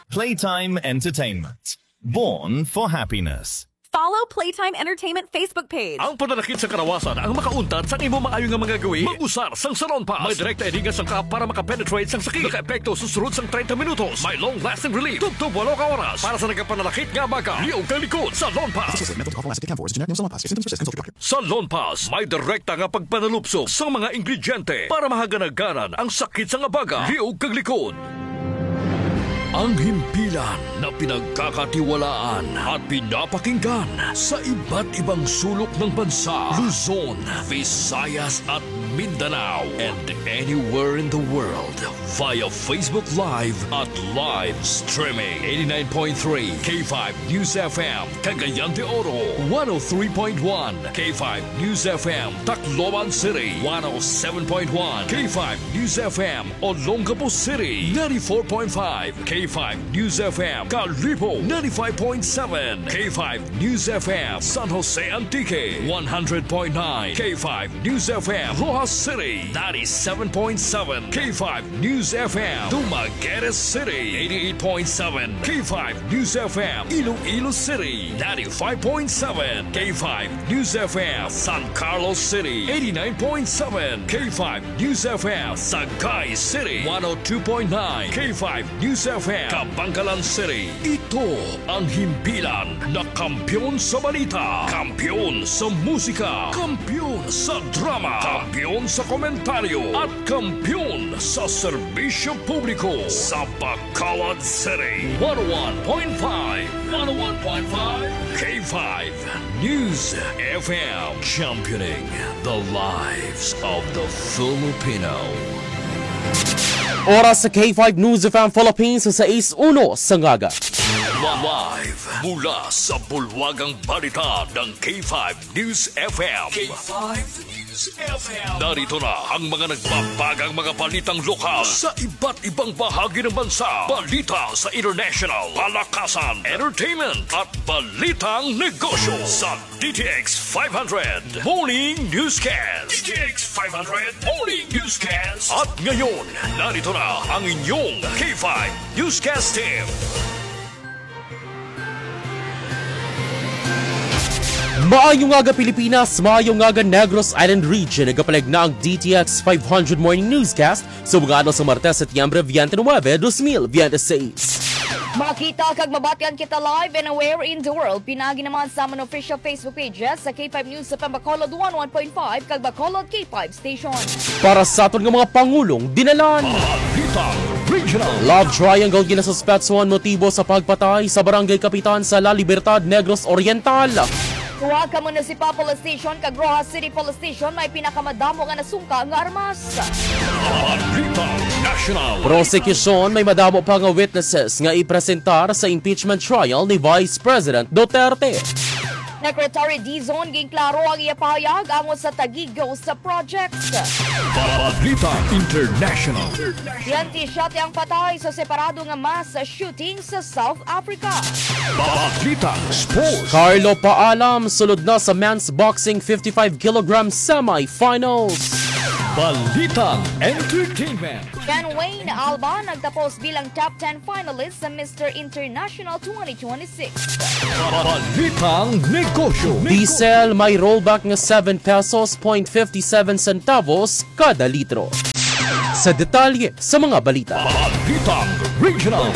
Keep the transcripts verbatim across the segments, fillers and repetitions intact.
Playtime Entertainment. Born for happiness. Follow Playtime Entertainment Facebook page. Ang pananakit sa karawasan ang makauntat sa imo maayo nga mga gawi. Mag-usar sang Salon Pass. May direkta ini nga sangkap para makapenetrate sang sakit. Nakaepekto sa sulod sang treinta minutos. May long-lasting relief. Tubtob walo ka oras. Para sa nagapananakit nga abaga, liog kag likod, Salon Pass. Associated with Mental Health Last Aid Camp four is a generic name of Salon Pass. If symptoms persist, consult your doctor. Salon Pass may direkta nga pagpanalupsop sa mga ingrediente para mahaganaganan ang sakit sang abaga, liog kag likod. Ang himpilan na pinagkakatiwalaan at pinapakinggan sa iba't ibang sulok ng bansa, Luzon, Visayas at Mindanao, and anywhere in the world via Facebook Live at live streaming. Eighty-nine point three K five News F M, Cagayan de Oro, one oh three point one K five News F M, Tacloban City, one oh seven point one K five News F M, Olongapo City, ninety-four point five K five News F M, Kalibo, ninety-five point seven K five News F M, San Jose Antique, one hundred point nine K five News F M, Roxas City, ninety-seven point seven K five News F M, Dumaguete City, eighty-eight point seven K five News F M, Iloilo City, ninety-five point seven K five News F M, San Carlos City, eighty-nine point seven K five News F M, Sagay City, one oh two point nine K five News F M, Kabankalan City. Ito ang himpilan na kampiyon sa balita, kampiyon sa musika, kampiyon sa drama, kampiyon sa komentaryo, at kampiyon sa serbisyo publiko sa Bacolod City. One oh one point five, one oh one point five K five News F M, championing the lives of the Filipino. Oras sa K five News F M Philippines sa sais uno sa ngaga. Live mula sa bulwagang balita ng K five News F M. K five News F M. Narito na ang mga nagbabagang mga balitang lokal sa iba't ibang bahagi ng bansa. Balita sa international, palakasan, entertainment, at balitang negosyo sa D T X five hundred Morning Newscast. D T X five hundred Morning Newscast. At ngayon, narito na ang inyong K five Newscast Team. Maayo nga aga Pilipinas, maayo nga aga Negros Island Region. Nagapalig na ang D T X five hundred Morning Newscast sa mga adlaw sa Martes, Setyembre twenty-nine, twenty twenty-six. Makita kag mabatian kita live and where in the world. Pinaagi naman sa amon official Facebook pages sa K five News sa Bacolod one one point five kag Bacolod K five Station. Para sa aton nga mga pangulong dinalan. Balitang Regional. Love triangle ginasuspetsuhan motibo sa pagpatay sa barangay kapitan sa La Libertad, Negros Oriental. Duha ka municipal police station kag Roxas City Police Station may pinakamadamo nga nasungka nga armas. Balitang National. Prosekusyon may madamo pa nga witnesses nga ipresentar sa impeachment trial ni Vice President Duterte. Secretary Dizon ginklaro ang iya pahayag angot sa Taguig Ghost Projects. Balitang International. Biyente siyete ang patay sa separado nga mass shooting sa South Africa. Balitang Sports. Carlo Paalam sulod na sa men's boxing fifty-five kilogram semifinals. Balitang Entertainment. Ken Wayne Alba nagtapos bilang top ten finalist sa Mister International twenty twenty-six. Balitang Negosyo. Diesel may rollback nga seven pesos point fifty-seven centavos kada litro. Sa detalye sa mga balita. Balitang Regional.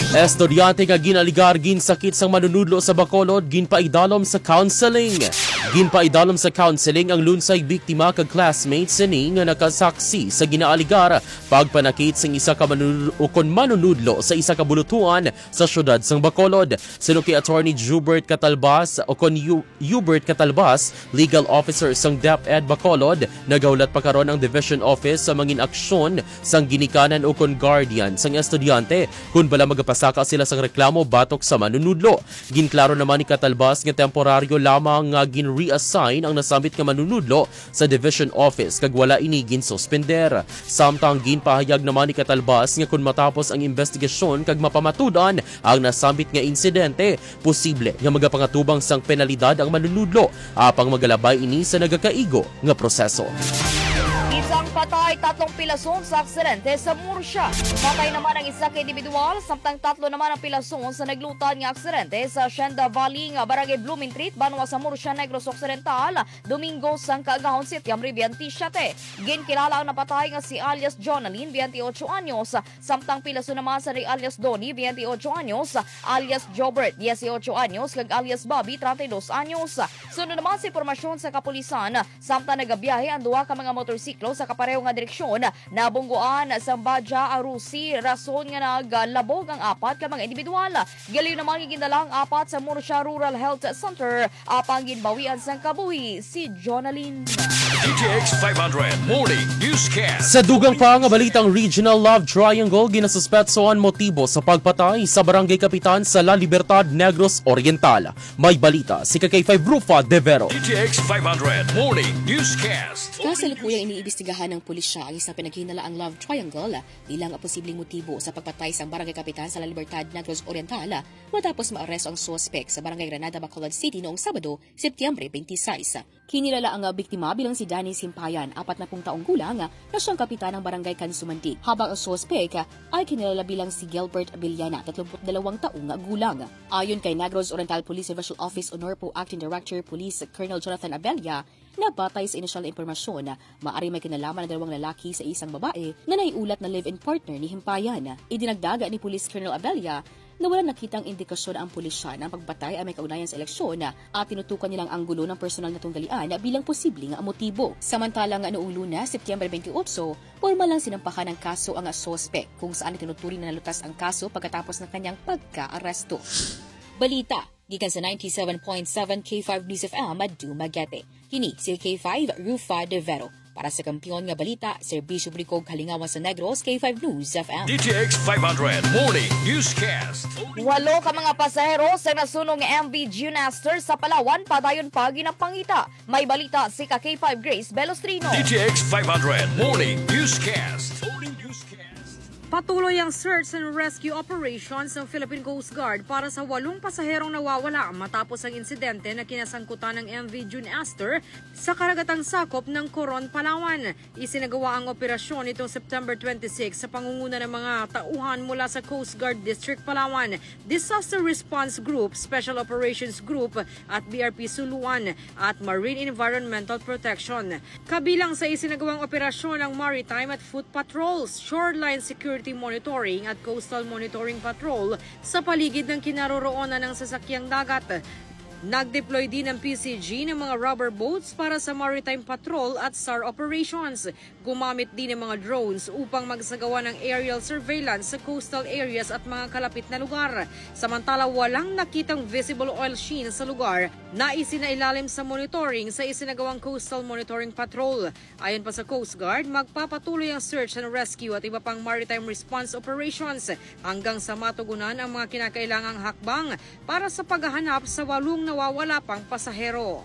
Estudyante nga ginaligar ginsakit sang manunudlo sa Bacolod ginpaidalom sa counseling. Ginpaidalom sa counseling ang lunsay biktima kag classmates sini nga nakasaksi sa ginaaligar pagpanakit sang isa ka manunudlo ukon manunudlo sa isa ka bulutuan sa siyudad sang Bacolod. Suno kay Attorney Jubert Catalbas ukon Yu-, Hubert Catalbas, Legal Officer sang DepEd Bacolod, nagahulat pa karon ang Division Office sa mangin aksyon sang ginikanan ukon guardian sang estudyante kon bala magapasaka sila sang reklamo batok sa manunudlo. Ginklaro naman ni Catalbas nga temporaryo lamang nga gin-reassign ang nasambit nga manunudlo sa Division Office kag wala ini ginsuspender. Samtang ginpahayag naman ni Catalbas nga kon matapos ang investigasyon kag mapamatud-an ang nasambit nga insidente, posible nga magapangatubang sang penalidad ang manunudlo, apang magalabay ini sa nagakaigo nga proseso. Isang Patay tatlong pilason sa aksidente sa Murcia. Patay naman ang isa ka individual, samtang tatlo naman ang pilason sa naglutad nga aksidente sa Hacienda Valley nga barangay Blumentritt, banwa sa Murcia, Negros Occidental, Domingo sang kaagahon, Setyembre twenty-seven. Ginkilala ang napatay nga si alias Jonalyn, twenty-eight anyos, samtang pilason naman sa ni alias Donnie, twenty-eight anyos, alias Jobert, dieciocho anyos, kag alias Bobby, treinta y dos anyos. Suno naman sa impormasyon sa kapulisan, samtang nagabiyahe ang duha ka mga motorsiklo sa kapareho nga direksyon, nabungguan sa Baja Arusi, rason nga naglabog ang apat ka mga individual. Giliw naman nga gindala ang apat sa Murcia Rural Health Center, apang ginbawian sang kabuhi si Jonalyn. D T X five hundred Morning Newscast. Sa dugang pa nga balitang regional love triangle, ginasuspetso ang motibo sa pagpatay sa barangay kapitan sa La Libertad, Negros Oriental. May balita si K K five Rufa De Vero. D T X five hundred Morning Newscast. Kasalukuyang iniimbestigahan ng pulisya ang isang pinaghinalaang love triangle bilang posibleng motibo sa pagpatay sang barangay kapitan sa La Libertad, Negros Oriental, matapos maaresto ang suspek sa barangay Granada, Bacolod City noong Sabado, Setyembre twenty-six. Kinilala ang biktima bilang si Danny Simpayan, apat na pung taong gulang, na siyang kapitan ng barangay Kansumandig, habang ang suspek ay kinilala bilang si Gilbert Villana, tatlumpu't dalawang taong gulang. Ayon kay Negros Oriental Police Divisional Office Honorpo Acting Director Police Colonel Jonathan Abella, na batay sa inisyal na impormasyon, maari may kinalaman ang dalawang lalaki sa isang babae nga naiulat na live-in partner ni Himpayan. Idinagdag ni Police Colonel Abella na wala nakitang indikasyon ang pulisya na ang pagpatay ay may kaugnayan sa eleksyon at tinutukan nilang anggulo ng personal na tunggalian bilang posibleng motibo. Samantala nga noong Lunes, Setyembre twenty-eight, pormal lang sinampahan ng kaso ang suspek, kung saan itinuturing na nalutas ang kaso pagkatapos ng kanyang pagka-aresto. Balita gikan sa ninety-seven point seven K five News F M, Dumaguete. Kini si K five, Rufa De Vero. Para sa kampiyon nga balita, serbisyo publiko ug kalingawan sa Negros, K five News F M. D T X five hundred Morning Newscast. Walo ka mga pasahero sa nasunong M V June Aster sa Palawan padayon pa ginapangita. May balita si ka K five Grace Belostrino. D T X five hundred Morning Newscast. Morning Newscast. Patuloy ang search and rescue operation sa Philippine Coast Guard para sa walong pasaherong nawawala matapos ang insidente na kinasangkutan ng M V June Aster sa karagatang sakop ng Coron, Palawan. Isinagawa ang operasyon nitong September twenty-six sa pangunguna ng mga tauhan mula sa Coast Guard District Palawan, Disaster Response Group, Special Operations Group at B R P Suluan at Marine Environmental Protection. Kabilang sa isinagawang operasyon ang maritime at foot patrols, shoreline security monitoring at coastal monitoring patrol sa paligid ng kinaroroonan ng sasakyang dagat. Nag-deploy din ang P C G ng mga rubber boats para sa maritime patrol at sar operations. Gumamit din ng mga drones upang magsagawa ng aerial surveillance sa coastal areas at mga kalapit na lugar. Samantala, walang nakitang visible oil sheen sa lugar na isinailalim sa monitoring sa isinagawang Coastal Monitoring Patrol. Ayon pa sa Coast Guard, magpapatuloy ang search and rescue at iba pang maritime response operations hanggang sa matugunan ang mga kinakailangang hakbang para sa paghahanap sa walong nawawala pang pasahero.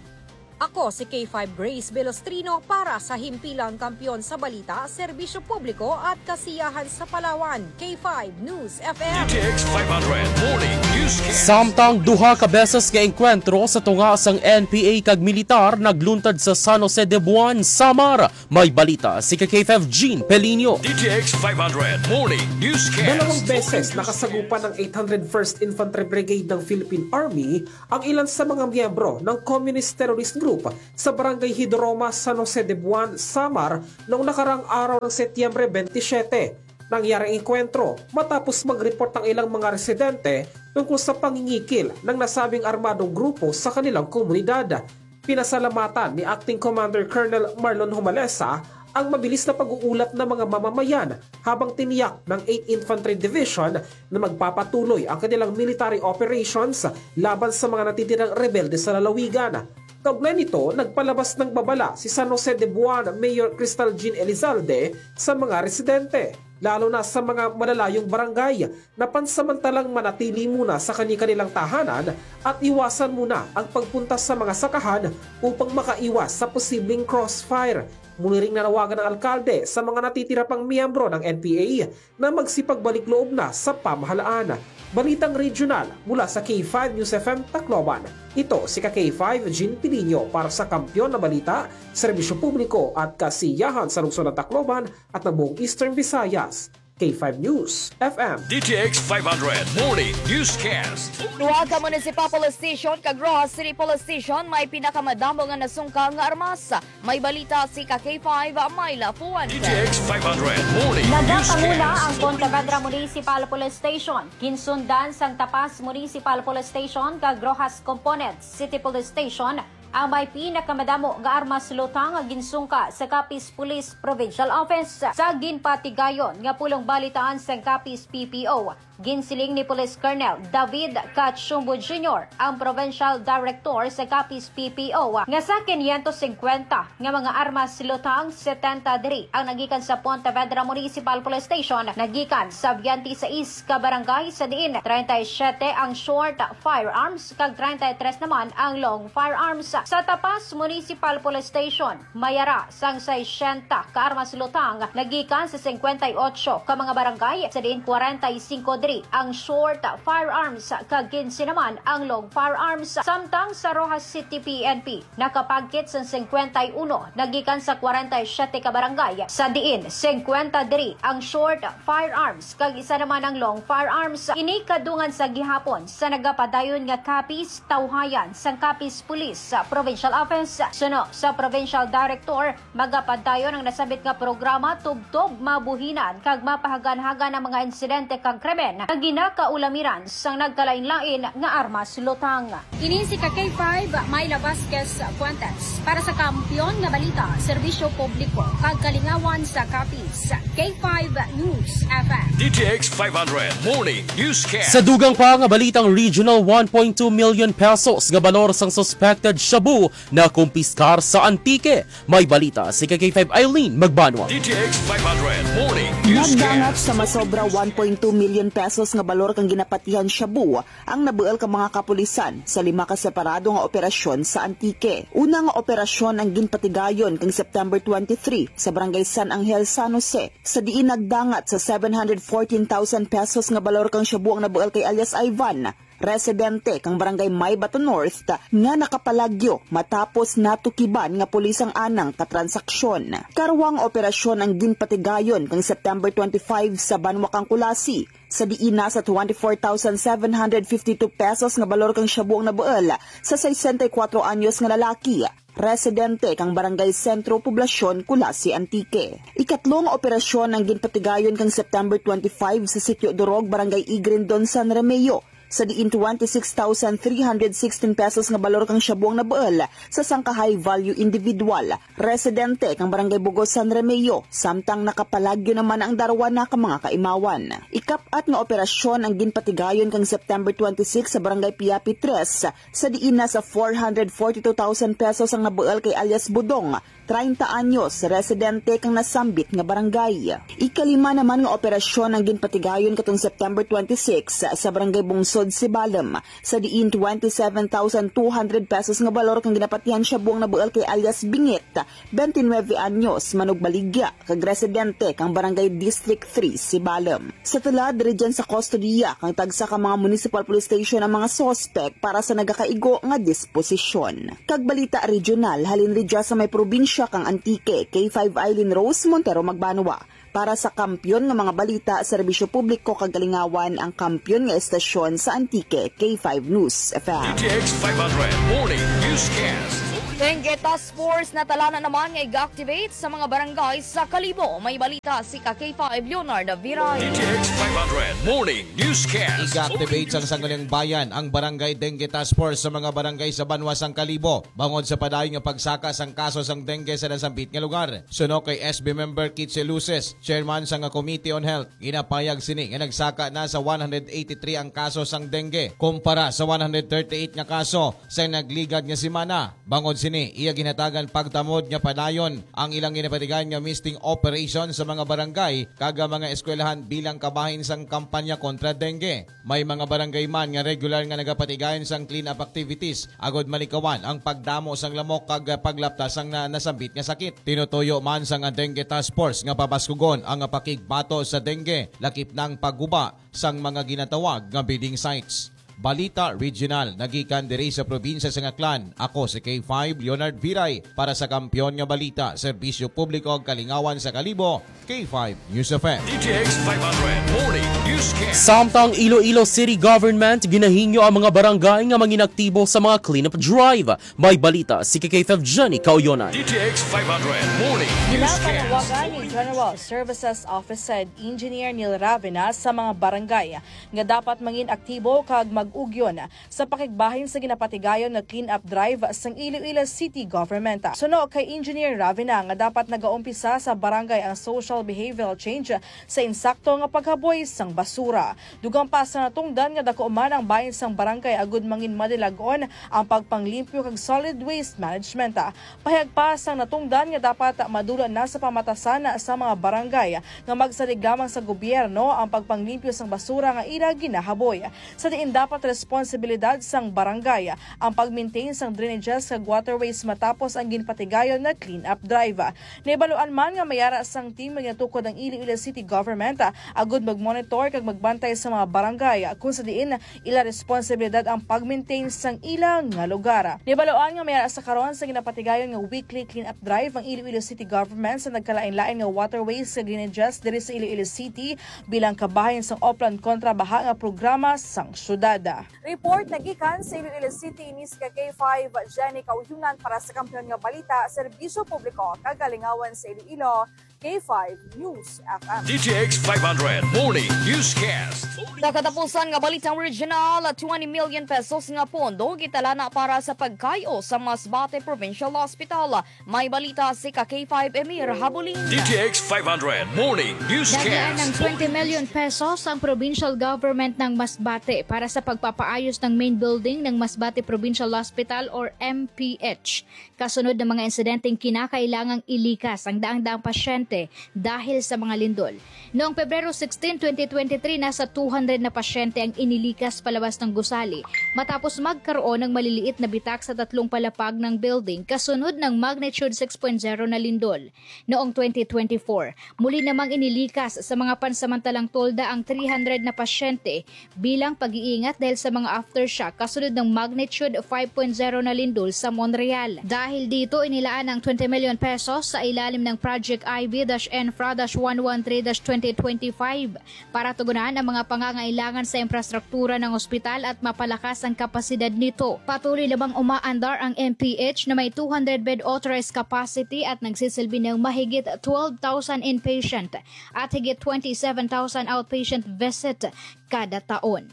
Ako si K five Grace Belostrino para sa Himpilang Kampiyon sa Balita, Serbisyo Publiko at Kasiyahan sa Palawan, K five News F M. D T X five hundred Morning Newscast. Samtang duha ka beses nga engkwentro sa tunga sang N P A kag militar nagluntad sa San Jose de Buan, Samar. May balita si ka K five Jean Pelinio. D T X five hundred Morning Newscast. Dalawang beses nakasagupan ng eight hundred first Infantry Brigade ng Philippine Army ang ilan sa mga miyembro ng Communist Terrorist Group sa Barangay Hidroma, San Jose de Buan, Samar, noong nakaraang araw ng Setyembre twenty-seven. Nangyari ang engkwentro matapos mag-report ang ilang mga residente tungkol sa pangingikil ng nasabing armadong grupo sa kanilang komunidad. Pinasalamatan ni Acting Commander Colonel Marlon Humalesa ang mabilis na pag-uulat ng mga mamamayan habang tiniyak ng eighth Infantry Division na magpapatuloy ang kanilang military operations laban sa mga natitirang rebelde sa lalawigan. Kaugnay nito, nagpalabas ng babala si San Jose de Buan Mayor Crystal Jean Elizalde sa mga residente, lalo na sa mga malalayong barangay, na pansamantalang manatili muna sa kani-kanilang tahanan at iwasan muna ang pagpunta sa mga sakahan upang makaiwas sa posibleng crossfire. Muli ring nanawagan ang alkalde sa mga natitira pang miyembro ng N P A na magsipagbalik loob na sa pamahalaan. Balitang regional mula sa K five News F M Tacloban. Ito si ka K five Jean Piliño para sa Kampiyon na Balita, Serbisyo Publiko at Kasiyahan sa Lungsod ng Tacloban at ng buong Eastern Visayas. K five News F M. D T X five hundred Morning Newscast. Duha ka Municipal Police Station kag Roxas City Police Station may pinakamadamo nga nasungkal nga armas. May balita si ka K five, Myla Fuentes. D T X five hundred Morning Nagapanguna Newscast. Ang Pontevedra Municipal Police Station. Ginsundan sang Tapas Municipal Police Station kag Roxas Component City Police Station ang may pinakamadamo nga armas lutang nga ginsungka sa Capiz Police Provincial Office. Sa ginpatigayon nga pulong balitaan sang Capiz P P O, ginsiling ni Police Colonel David Cachumbo Junior, ang Provincial Director sa Capiz P P O, nga sa quinientos cincuenta nga mga armas lutang, setenta diri ang nagikan sa Pontevedra Municipal Police Station, nagikan sa twenty-six ka barangay, sa diin treinta y siete ang short firearms kag treinta y tres naman ang long firearms. Sa Tapas Municipal Police Station, may ara sang sesenta ka armas lutang nagikan sa cincuenta y ocho ka mga barangay, sa diin cuarenta y cinco diri ang short firearms kag quince naman ang long firearms. Samtang sa Roxas City P N P, nakapagkit sang cincuenta y uno nagikan sa cuarenta y siete ka barangay, sa diin cincuenta diri ang short firearms kag isa naman ang long firearms. Ini kadungan sa gihapon sa nagapadayon nga Capiz Tawhayan sang Capiz Police Provincial Office. Suno sa Provincial Director, magapadayon ang nasambit nga programa tubtob mabuhinan kag mapahaganhagan ang mga insidente kag krimen nga ginakaulamiran sang nagkalainlain nga armas lutang. Ini si ka K five, Myla Vasquez Fuentes, para sa Kampiyon nga Balita, Serbisyo Publiko, kag Kalingawan sa Capiz, K five News F M. D T X five hundred Morning Newscast. Sa dugang pa nga balitang regional, one point two million pesos nga balor sang suspected shabu nakumpiskar sa Antique. May balita si ka K five Eileen Magbanwa. D T X five hundred Morning Newscast. Nagdangat sa masobra one point two million pesos nga balor kang ginapatihan shabu ang nabuul ka mga kapulisan sa lima ka separado nga operasyon sa Antique. Una nga operasyon ang ginpatigayon kang September twenty-three sa Barangay San Angel, San Jose, sa diin nagdangat sa seven hundred fourteen thousand pesos nga balor kang shabu ang nabuul kay alias Ivan, residente kang Barangay Maybato North, nga nakapalagyo matapos natukiban nga pulis ang anang ka transaksyon. Karwang operasyon ang ginpatigayon kang September twenty-five sa banwa kang Culasi, sa diin nasa twenty-four thousand seven hundred fifty-two pesos nga balor kang shabu ang nabuul sa sesenta y kuwatro anyos nga lalaki, residente kang Barangay Sentro, Poblacion, Culasi, Antique. Ikatlo nga operasyon ang ginpatigayon kang September twenty-five sa Sitio Durog, Barangay Igrindon, San Remigio, sa diin twenty-six thousand three hundred sixteen pesos nga balor kang shabu ang nabuul sa sangka high-value individual, residente kang Barangay Bugos, San Remigio, samtang nakapalagyo naman ang darwa na ka mga kaimawan. Ikap-at nga operasyon ang ginpatigayon kang September twenty-six sa Barangay Piapi tres, sa diin nasa four hundred forty-two thousand pesos ang nabuul kay alias Budong, treinta anyos, residente kang nasambit nga barangay. Ikalima naman nga operasyon ang ginpatigayon katong September twenty-six sa Barangay Bungsod, Sibalom, sa diin twenty-seven thousand two hundred pesos nga balor kang ginapatihan shabu ang nabuul kay alias Bingit, twenty-nine anyos, manugbaligya, kag residente kang Barangay District three, Sibalom. Sa tulad, diri dyan sa kustodiya kang tagsa ka mga municipal police station ang mga suspek para sa nagakaigo nga disposisyon. Kag balita regional, halin ri dya sa may probinsya kang Antique, K five Eileen Rose Montero Magbanwa. Para sa Kampiyon nga mga balita, serbisyo publiko kag kalingawan, ang kampiyon nga estasyon sa Antique, K five News F M. D T X five hundred Morning Newscast. Dengue Task Force natalanan naman nga iga-activate sa mga barangay sa Kalibo. May balita si ka K five Leonard Viray. D T X five hundred Morning Newscast. Iga-activate sang Sangguniang Bayan ang Barangay Dengue Task Force sa mga barangay sa banwa sang Kalibo, bangod sa padayon nga pagsaka sang kaso sang dengue sa nasambit nga lugar. Suno kay S B member Kitse Luces, chairman sang Committee on Health, ginapahayag sini nga nagsaka na sa one hundred eighty-three ang kaso sang dengue, kumpara sa one hundred thirty-eight nga kaso sa nagligad nga semana. Bangod sini, Ni iya ginhatagan pagtamod nga padayon ang ilang ginapatigayon nga misting operation sa mga barangay kag mga eskwelahan bilang kabahin sang kampanya kontra dengue. May mga barangay man nga regular nga nagapatigayon sang clean-up activities agod malikawan ang pagdamo sang lamok kag paglapta sang na-, nasambit nga sakit. Tinutuyo man sang Dengue Task Force nga pabaskugon ang pakigbato sa dengue, lakip na ang pagguba sang mga ginatawag nga bedding sites. Balita Regional, nagikan diri sa probinsya sang Aklan. Ako si K five Leonard Viray para sa Kampiyon nga Balita, Serbisyo Publiko ug Kalingawan sa Kalibo, K five News F M. D T X five hundred Morning Newscast. Samtang Iloilo City Government ginahingyo ang mga barangay nga manginaktibo sa mga cleanup drive. May balita si K five Jenny Kauyonan. D T X five hundred Morning Newscast. Ginapanawagan ni General Services Office Head Engineer Neil Ravena sa mga barangay nga dapat mangin aktibo kag mag-ugyon sa pakigbahin sa ginapatigayon nga clean-up drive sang Iloilo City Government. Suno kay Engineer Ravena nga dapat nagaumpisa sa barangay ang social behavioral change sa insakto nga paghaboy sang basura. Dugang pa sa natungdan nga daku man ang bahin sang barangay agud mangin madilag-on ang pagpanglimpyo kag solid waste management. Pahayag pa sang natungdan nga dapat madula na sa pamatasan sa mga barangay nga magsalig lamang sa gobyerno ang pagpanglimpyo sang basura nga ila ginahaboy, sa diin dapat responsibilidad sang barangay ang pag-maintain sang drainages kag waterways matapos ang ginpatigayon nga clean-up drive. Nahibaluan man nga may ara sang team nga ginatukod ang Iloilo City Government, ah, agud mag-monitor kag magbantay sa mga barangay, ah, kung sa diin ila responsibilidad ang pag-maintain sang ila nga lugar. Nahibaluan nga may ara sa karon sa ginapatigayon nga weekly clean-up drive ang Iloilo City Government sa nagkalain-lain nga waterways kag drainages diri sa Iloilo City bilang kabahin sang Oplan Kontra Baha nga programa sang syudad. Report nagikan sa Iloilo City, ini si K five Jenny Kauyonan para sa Kampiyon nga Balita, Serbisyo Publiko kag Kalingawan sa Iloilo, K five News F M. D T X five hundred Morning Newscast. Sa katapusan nga balitang regional, twenty million pesos nga pondo gitalana para sa pagkayo sa Masbate Provincial Hospital. May balita si ka K five Emir Habulin. D T X five hundred Morning Newscast. Naglaan ng twenty million pesos ang provincial government ng Masbate para sa pagpapaayos ng main building ng Masbate Provincial Hospital or M P H. Kasunod ng mga insidenteng kinakailangang ilikas ang daang-daang pasyente dahil sa mga lindol. Noong Pebrero sixteen, twenty twenty-three, nasa two hundred na pasyente ang inilikas palabas ng gusali matapos magkaroon ng maliliit na bitak sa tatlong palapag ng building kasunod ng magnitude six point zero na lindol. Noong twenty twenty-four, muli namang inilikas sa mga pansamantalang tolda ang three hundred na pasyente bilang pag-iingat dahil sa mga aftershock kasunod ng magnitude five point zero na lindol sa Monreal. Dahil dito, inilaan ang twenty million pesos sa ilalim ng Project I B dash Infra dash one one three dash twenty twenty-five para tugunan ang mga pangangailangan sa infrastruktura ng ospital at mapalakas ang kapasidad nito. Patuloy namang umaandar ang M P H na may two hundred bed authorized capacity at nagsisilbi ng mahigit twelve thousand inpatient at higit twenty-seven thousand outpatient visit kada taon.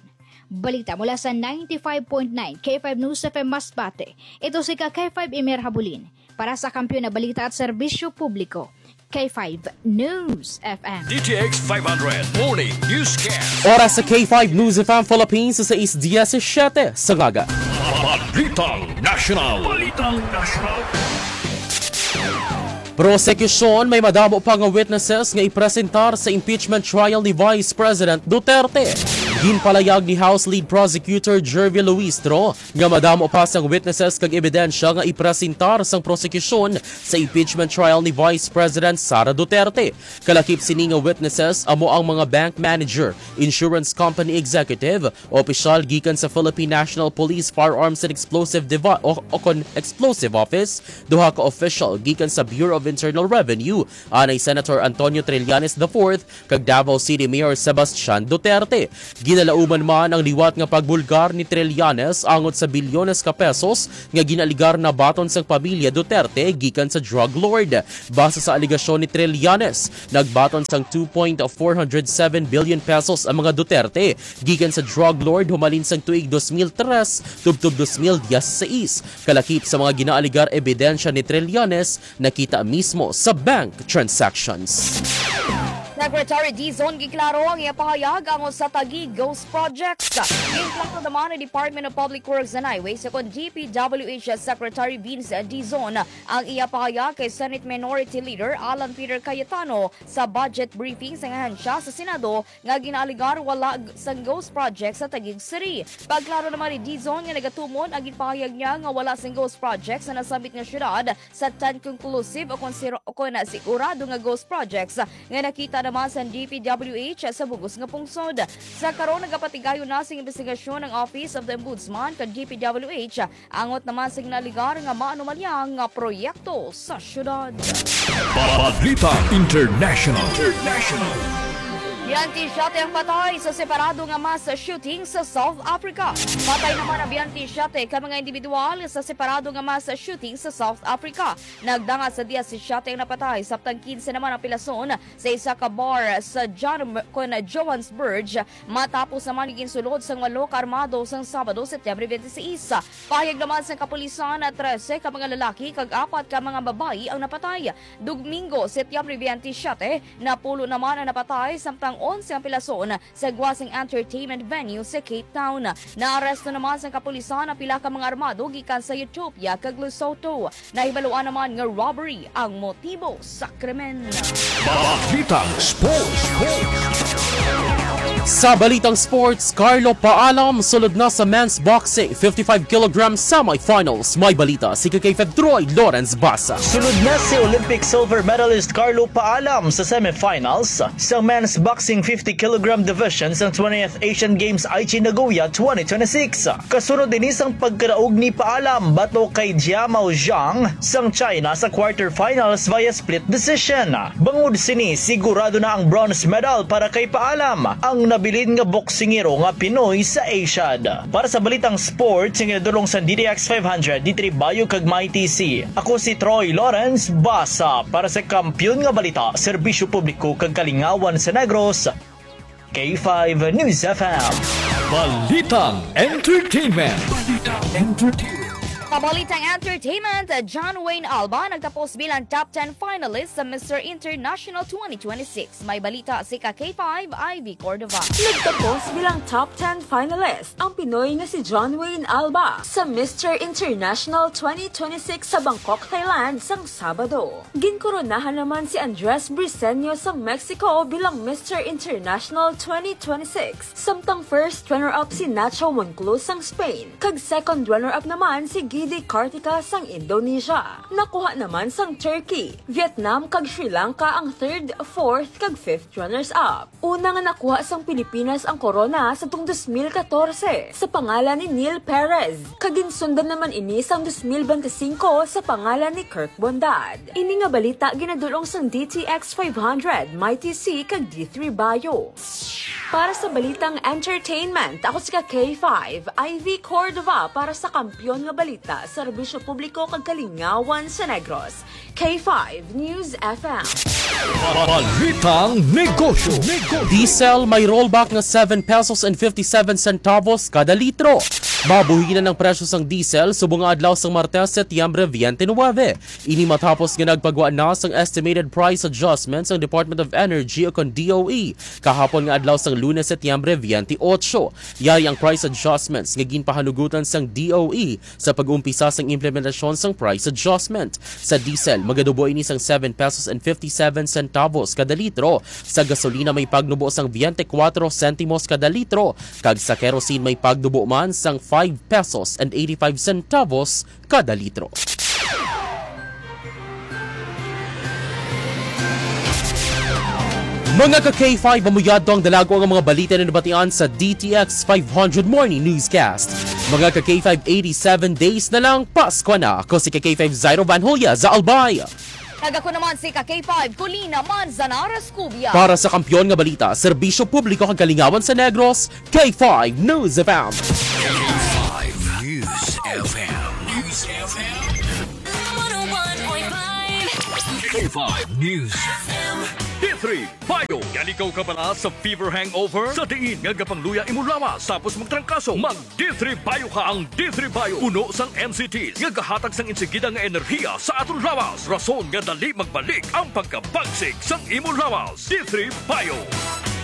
Balita mula sa ninety-five point nine K five News F M Masbate. Ito si ka K five Emir Habulin para sa Kampiyon na Balita at Serbisyo Publiko, K five News F M. D T X five hundred Morning Newscast. Oras sa K five News F M Philippines sa sais diecisiete sa aga. Balitang National. Balitang National. Prosekusyon, may madamo pa nga witnesses nga ipresentar sa impeachment trial ni Vice President Duterte. Ginpalayag ni House Lead Prosecutor Jervie Luistro nga madamo pa sang witnesses kag ebidensya nga ipresentar sang prosekusyon sa impeachment trial ni Vice President Sara Duterte. Kalakip sini nga witnesses amo ang mga bank manager, insurance company executive, opisyal gikan sa Philippine National Police Firearms and Explosive Devi-, o, o kon Explosive Office, duha ka opisyal gikan sa Bureau of Internal Revenue, anay Senator Antonio Trillanes the fourth kag Davao City Mayor Sebastian Duterte. Ginalauman man ang liwat nga pagbulgar ni Trillanes angot sa bilyones ka pesos nga ginaligar na baton sang pamilya Duterte gikan sa drug lord. Base sa alegasyon ni Trillanes, nagbaton sang two point four hundred seven billion pesos ang mga Duterte gikan sa drug lord humalin sang tuig dos mil tres tubtob dos mil dieciséis. Kalakip sa mga ginaaligar ebidensya ni Trillanes, nakita mismo sa bank transactions. Secretary Dizon giklaro ang iya pahayag angot sa Taguig Ghost Projects. Ginklaro naman ni Department of Public Works and Highways kon D P W H Secretary Vince Dizon ang iya pahayag kay Senate Minority Leader Alan Peter Cayetano sa budget briefing sa ahensya sa Senado nga ginaalegar wala g-, sang ghost project sa Taguig City. Pagklaro naman ni Dizon nga nagatumon ang ginpahayag niya nga wala sang ghost project sa nasambit nga syudad sa tan conclusive o kon siro-, o kon sigurado nga ghost projects nga nakita naman sa D P W H sa bug-os nga pungsod. Sa karon, nagapatigayon na sing imbestigasyon ang Office of the Ombudsman kag D P W H angot naman sa ginaalegar nga maanomalya nga proyekto sa syudad. Balita International. Biyente siyete ang patay sa separado nga mass shooting sa South Africa. Patay naman ang biyente siyete ka mga individual sa separado nga mass shooting sa South Africa. Nagdangat sa diyesisiyete ang napatay, samtang kinse naman ang pilason sa isa ka bar sa John-, kon Johannesburg, matapos naman ginsulod sang walo ka armado sang Sabado, Setyembre twenty-six. Pahayag naman sang kapulisan na trese ka mga lalaki kag apat ka mga babayi ang napatay. Domingo, Setyembre twenty-siyete, napulo naman ang napatay, samtang onse ang pilason sa gwa sang entertainment venue sa Cape Town. Naaresto naman sang kapulisan ang pila ka mga armado gikan sa Ethiopia kag Lesotho. Nahibaluan naman nga robbery ang motibo sa krimen. Balitang Sports. Sa balitang sports, Carlo Paalam sulod na sa men's boxing fifty-five kilogram semifinals. May balita si K five Troy Lawrence Basa. Sulod na si Olympic silver medalist Carlo Paalam sa semifinals sa men's boxing fifty kilogram division sa twentieth Asian Games Aichi Nagoya twenty twenty-six. Kasunod ini sang pagkadaog ni Paalam batok kay Jiamao Zhang sang China sa quarterfinals via split decision. Bangod sini, sigurado na ang bronze medal para kay Paalam, ang nabilin nga boksingero nga Pinoy sa ASIAD. Para sa balitang sports, nga ginadul-ong sa D T X five hundred, D three Bayo kag Mighty C. Ako si Troy Lawrence Basa para sa Kampiyon nga Balita, Serbisyo Publiko kag Kalingawan sa Negros, K five News F M. Balitang Entertainment. Balitang Entertainment. Sa balitang entertainment, John Wayne Alba nagtapos bilang top ten finalist sa Mister International twenty twenty-six. May balita si ka K five, Ivy Cordova. Nagtapos bilang top ten finalist ang Pinoy nga si John Wayne Alba sa Mister International twenty twenty-six sa Bangkok, Thailand, sang Sabado. Ginkoronahan naman si Andres Briseño sang Mexico bilang Mister International twenty twenty-six, samtang first runner-up si Nacho Monclus sang Spain, kag second runner-up naman si Gidi Kartika sang Indonesia. Nakuha naman sang Turkey, Vietnam, kag Sri Lanka ang third, fourth, kag fifth runners-up. Una nga nakuha sang Pilipinas ang korona sa tuong dos mil katorse sa pangalan ni Neil Perez, kag ginsundan naman ini sang dos mil bente singko sa pangalan ni Kirk Bondad. Ini nga balita ginadul-ong sang D T X five hundred, Mighty C, kag D three Bayo. Para sa balitang entertainment, ako si ka K five, Ivy Cordova para sa Kampiyon nga Balita, Serbisyo Publiko kag Kalingawan sa Negros. K five News F M. Balitang Negosyo. Diesel may rollback nga seven pesos and fifty-seven centavos kada litro. Mabuhinan ang presyo sang diesel subong nga adlaw sang Martes, Setyembre twenty-nine. Ini matapos nga nagpagwa na sang estimated price adjustment sang Department of Energy o kon D O E kahapon nga adlaw sang Lunes, Setyembre twenty-eight. Yari ang price adjustments nga ginpahanugutan sang D O E sa pag-umpisa sang implementasyon sang price adjustment. Sa diesel, magadubo ini sang seven pesos and fifty-seven centavos kada litro. Sa gasolina, may pagnubo sang twenty-four sentimos kada litro, kag sa kerosene, may pagnubo man sang five pesos and eighty-five centavos kada litro. Mga ka K five, amo yadto ang dalago nga mga balita na nabatian sa D T X five hundred Morning Newscast. Mga ka K five, eighty-seven days na lang, Pasko na. Ako si ka K five Zairo Van Julia sa Albay. Kag ako naman si ka K five Colina Manzanares Cubia. Para sa Kampiyon nga Balita, Serbisyo Publiko kag Kalingawan sa Negros, K five News F M. K five News F M. News F M. One oh one point five. K five News. D three Bio. Yan ikaw kabala sa fever hangover? Sa diin nga gapangluya imo lawas tapos magtrangkaso, mag D three Bio ka. Ang D three Bio, puno sang M C Ts nga gahatag sang insigida nga enerhiya sa aton lawas, rason nga dali magbalik ang pagkabagsik sang imo lawas. D three Bio.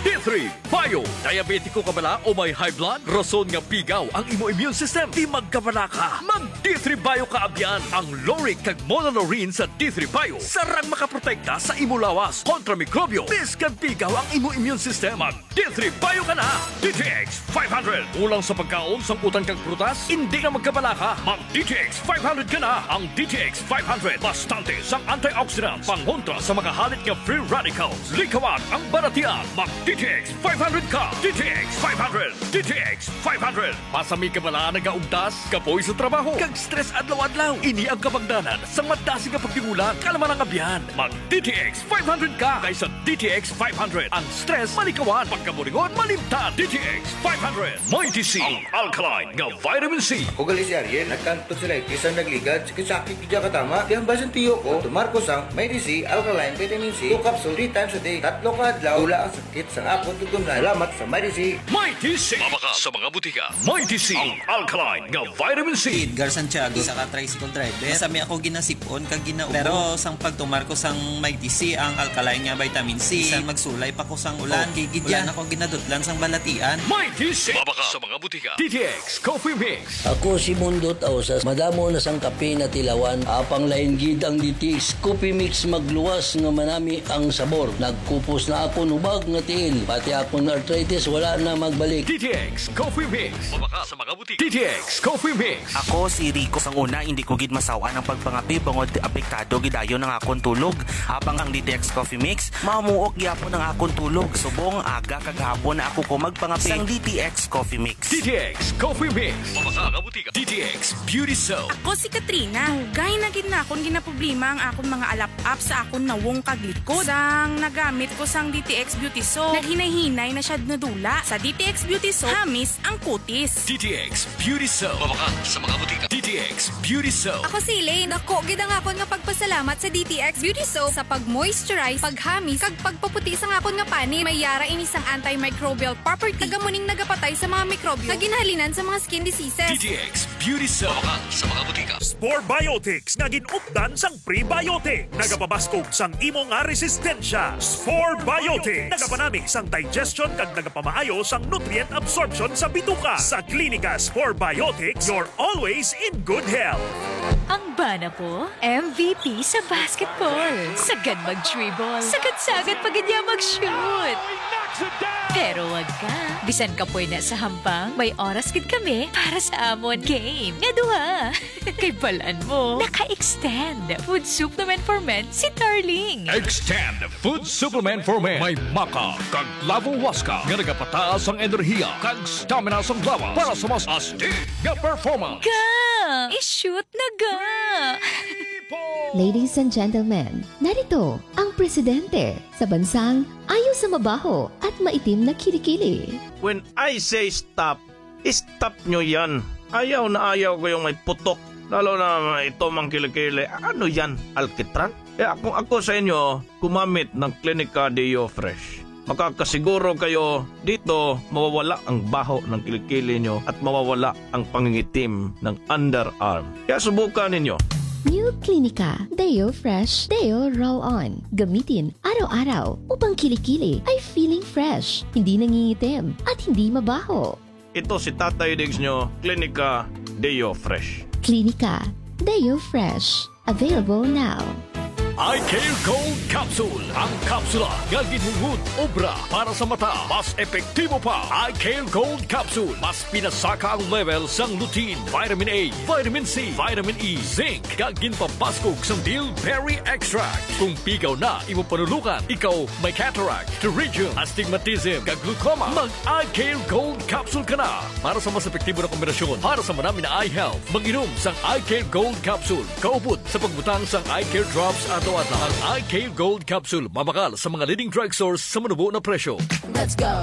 D three Bio. Diabetiko ka bala o may high blood? Rason nga pigaw ang imo immune system. Di magkabala ka. Mag D three Bio ka abyan. Ang lauric kag monolaurin sa D three Bio sarang makaprotekta sa imo lawas kontra mikrobyo. Biskang pigaw ang imo immune system, mag D three Bio ka na. D T X five hundred. Kulang sa pagkaon, sang utan kag prutas? Hindi na magkabala ka. Mag D T X five hundred ka na. Ang D T X five hundred, bastante sang antioxidants, pangontra sa mga halit nga free radicals. Likawan ang balatian. Mag D T X five hundred ka. D T X five hundred. D T X five hundred. Masami ka bala nagaugtas, kapoy sa trabaho, kag stress adlaw-adlaw? Ini ang kabangdanan sang madasig nga pagtingulan. Kalma lang, abyan. Mag D T X five hundred ka, kay sa D T X five hundred, ang stress malikawan, pagkaburingon malimtan. D T X five hundred. Mighty C, ang alkaline nga vitamin C. Ako gali si Ariel, nagkanto sila, isang nagligad, sakit-sakit, di ka tama. Kaya ang basin tiyo ko, tumar ko sang Mighty C, alkaline vitamin C, two capsule, three times a day, tatlo ka adlaw, wala ang sakit sa akon tutumlan. Salamat sa Mighty C. Mighty C. Mabakal sa mga butika. Mighty C, ang alkaline nga vitamin C. Edgar Santiago, isa ka tricycle driver. Masami ako ginasipon kag ginaubo. Pero sang pagtumar ko sang Mighty C, ang alkaline nga vitamin C, bisan magsulay pa ko sang ulan, oh, kay gid wala na ko ginadutlan sang balatian. Mighty C. Mabakal sa mga butika. D T X Coffee Mix. Ako si Mundot Ausas, madamo na sang kape natilawan, apang lain gid ang D T X Coffee Mix, magluwas nga manami ang sabor. Nagkupos na akon hubag nga tiil, pati akon arthritis wala na magbalik. D T X Coffee Mix. Mabakal sa mga butika. D T X Coffee Mix. Ako si Rico. Sang una, hindi ko gid masaw-an ang pagpangape bangod apektado gid dayon ang akon tulog. Apang ang D T X Coffee Mix, mamuok gyapon ang akon tulog. Subong aga kag hapon na ako ko magpangape sang D T X Coffee Mix. D T X Coffee Mix. Mabakal nga butika. D T X Beauty Soap. Ako si Katrina. Dugay na gid na akon ginaproblema ang akon mga alap-ap sa akon nawong kag likod. Sang nagamit ko sang D T X Beauty Soap, naghinay-hinay na siya nadula. Sa D T X Beauty Soap, hamis ang kutis. D T X Beauty Soap. Mabakal sa mga butika. D T X Beauty Soap. Ako si Elaine. Dako gid ang akon nga pagpasalamat sa D T X Beauty Soap sa pag-moisturize, paghamis, kag pagpaputi sang akon nga panit. May yara ini sang antimicrobial property, kag amo ning nagapatay sa mga mikrobyo nga ginhalinan sa mga skin diseases. D T X Beauty Soap. Mabakal sa mga butika. Spore Biotics nga gin-updan sang prebiotic. Nagapabaskog sang imo nga resistensya. Spore Biotics. Nagapanami sang digestion kag nagapamaayo sang nutrient absorption sa bituka. Sa Klinika Spore Biotics, you're always in good health. Ang bana ko, M V P sa basketball. Sagad mag-dribble. Sagad-sagad pa gid niya mag-shoot. Pero wag ka. Bisan kapoy na sa hampang, may oras gid kami para sa amon game nga duha. Kay balan mo, naka-extend food supplement for men si Darling. Extend food supplement for men. May maca kag lavowaska nga nagapataas ang enerhiya kag stamina sang lawas para sa mas astig nga performance. Ga! I-shoot na ga! Ladies and gentlemen, narito ang presidente sa bansang ayo sa mabaho at maitim na kilikili. When I say stop, stop nyo yan. Ayaw na ayaw ko yung may putok. Lalo na ito mang kilikili. Ano yan? Alkitran? Kaya kung ako sa inyo, gumamit ng Clinica Deo Fresh. Makakasiguro kayo dito mawawala ang baho ng kilikili nyo at mawawala ang pangingitim ng underarm. Kaya subukan ninyo. New Clinica Deo Fresh Deo Roll On. Gamitin araw-araw upang kilikili ay feeling fresh, hindi nangingitim, at hindi mabaho. Ito si Tatay Diggs nyo, Clinica Deo Fresh. Clinica Deo Fresh. Available now. Eye Care Gold Capsule. Ang kapsula nga ginhungod obra para sa mata. Mas epektibo pa. Eye Care Gold Capsule. Mas pinasaka ang level sang lutein, vitamin A, vitamin C, vitamin E, zinc, kag ginpabaskog sang bilberry extract. Kung pigaw na imo panulukan, ikaw may cataract, pterygium, astigmatism, kag glaucoma, mag Eye Care Gold Capsule ka na para sa mas epektibo na kombinasyon para sa manami na eye health. Mag-inom sang Eye Care Gold Capsule kaupod sa pagbutang sang Eye Care Drops adlaw-adlaw. Ang Eye Care Gold Capsule mabakal sa mga leading drugstores sa manubo na presyo. Let's go.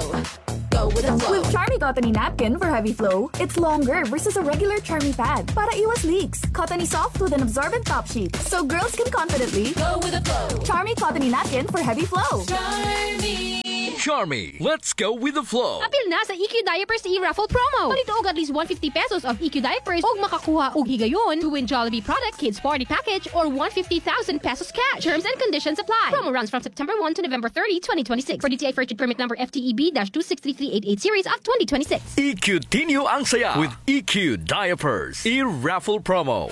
Go with the flow. With Charmy Cottony Napkin for heavy flow, it's longer versus a regular Charmy pad para iwas leaks. Cottony soft with an absorbent top sheet, so girls can confidently go with the flow. Charmy Cottony Napkin for heavy flow. Charmy. Charmy, let's go with the flow. Apil na sa E Q Diapers e-raffle promo. Palito og at least one fifty pesos of E Q Diapers ug makakuha og higayon to win Jollibee product, kids party package, or one fifty thousand pesos cash. Terms and conditions apply. Promo runs from September one to November thirty, twenty twenty-six. For D T I Fair Trade Permit number F T E B dash two six three three eight eight series of twenty twenty-six. E Q Tinyo ang saya with E Q Diapers e-raffle promo.